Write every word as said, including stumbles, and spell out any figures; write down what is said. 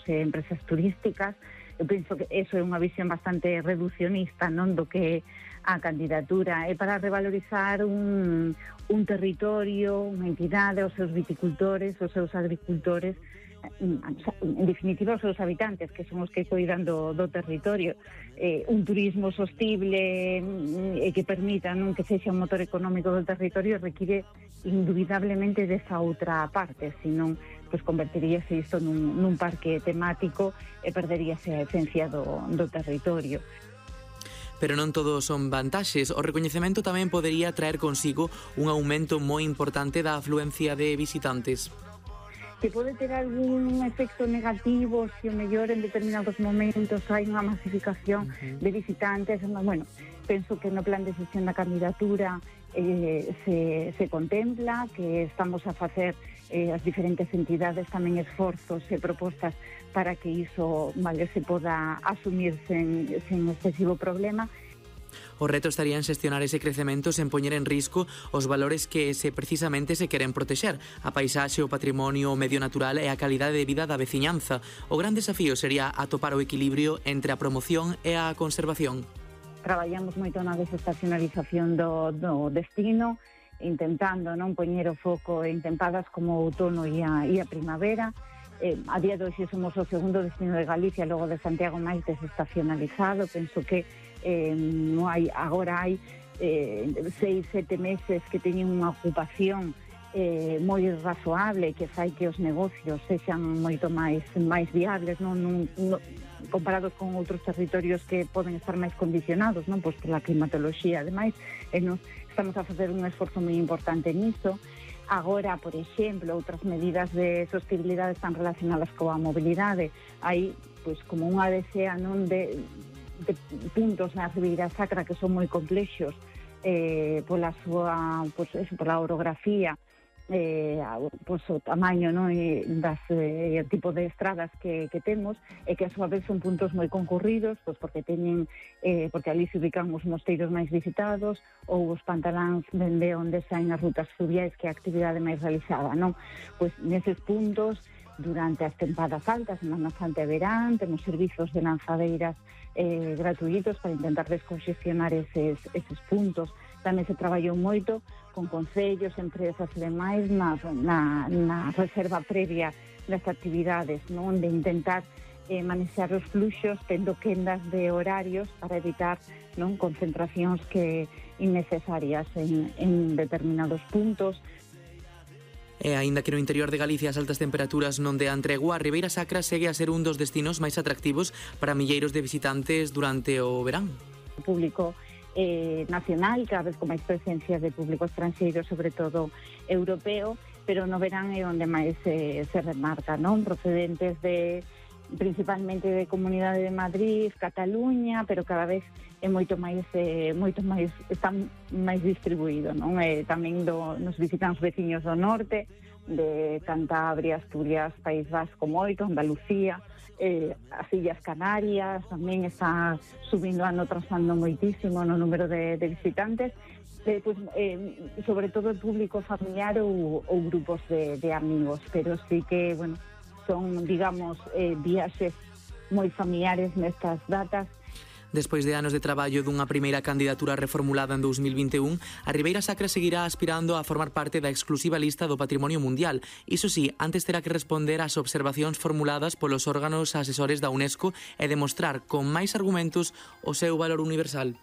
e empresas turísticas. Eu penso que eso é unha visión bastante reducionista, non, do que a candidatura é para revalorizar un, un territorio, unha entidade, os seus viticultores, os seus agricultores, en definitiva os seus habitantes, que son os que cuidan do, do territorio. Eh, un turismo sostible e eh, que permita, non, que sexa un motor económico do territorio require indubidablemente desa outra parte, senón pues convertiríase isto nun, nun parque temático e perderíase a esencia do, do territorio. Pero non todo son vantaxes. O recoñecemento tamén podería traer consigo un aumento moi importante da afluencia de visitantes. Que pode ter algún efecto negativo se o mellor en determinados momentos hai unha masificación uh-huh. de visitantes. Bueno, penso que no plan de xestión da candidatura eh, se, se contempla que estamos a facer eh, as diferentes entidades tamén esforzos e propostas para que iso, vale, se poda asumir sen, sen excesivo problema. O reto estaría en xestionar ese crecemento sen poñer en risco os valores que se precisamente se queren protexer, a paisaxe, o patrimonio, o medio natural e a calidade de vida da veciñanza. O gran desafío sería atopar o equilibrio entre a promoción e a conservación. Traballamos moito na desestacionalización do, do destino, intentando non poñer o foco en tempadas como o outono e a, e a primavera. Eh, a día de hoxe somos o segundo destino de Galicia, logo de Santiago, máis desestacionalizado. Penso que eh, non hai, agora hai eh, seis, sete meses que teñen unha ocupación eh, moi razoable, que fai que os negocios sexan moito máis máis viables, non, non, non comparados con outros territorios que poden estar máis condicionados, non, pois pola climatoloxía. Ademais, eh, nos estamos a facer un esforzo moi importante niso. Agora, por exemplo, outras medidas de sostenibilidade están relacionadas coa mobilidade. Hai, pois, como unha desea, non, de, de puntos na Ribeira Sacra que son moi complexos eh, pola súa, pois, eso, pola orografía, eh, pois, o tamaño, non, e das eh, tipo de estradas que, que temos, e que a súa vez son puntos moi concurridos, pois porque teñen eh, porque ali se ubican os mosteiros máis visitados ou os pantaláns dende onde saen as rutas fluviais, que é a actividade máis realizada, non? Pois neses puntos, durante as tempadas altas, Semana Santa e verán, temos servizos de lanzadeiras eh, gratuitos para intentar descongestionar eses, eses puntos. Tamén se traballou moito con concellos, empresas e demais na, na, na reserva previa das actividades, non, de intentar eh, manexar os fluxos tendo quendas de horarios para evitar, non, concentracións que innecesarias en, en determinados puntos. E aínda que no interior de Galicia as altas temperaturas non dean tregua, a Ribeira Sacra segue a ser un dos destinos máis atractivos para milleiros de visitantes durante o verán. O público eh, nacional, cada vez con máis presencia de público estranxeiro, sobre todo europeo, pero no verán é onde máis eh, se remarca, non? Procedentes de principalmente de Comunidade de Madrid, Cataluña, pero cada vez é moito máis eh, moito máis está máis distribuído, non? Eh, tamén do, nos visitan os veciños do norte, de Cantabria, Asturias, País Vasco moito, Andalucía, eh, as Illas Canarias tamén está subindo ano tras ano moitísimo no número de, de visitantes. Eh, pues, eh, sobre todo el público familiar ou, ou grupos de, de amigos, pero sí que, bueno, son, digamos, eh, viaxes moi familiares nestas datas. Despois de anos de traballo dunha primeira candidatura reformulada en dous mil vinte e un, a Ribeira Sacra seguirá aspirando a formar parte da exclusiva lista do Patrimonio Mundial. Iso sí, antes terá que responder ás observacións formuladas polos órganos asesores da UNESCO e demostrar con máis argumentos o seu valor universal.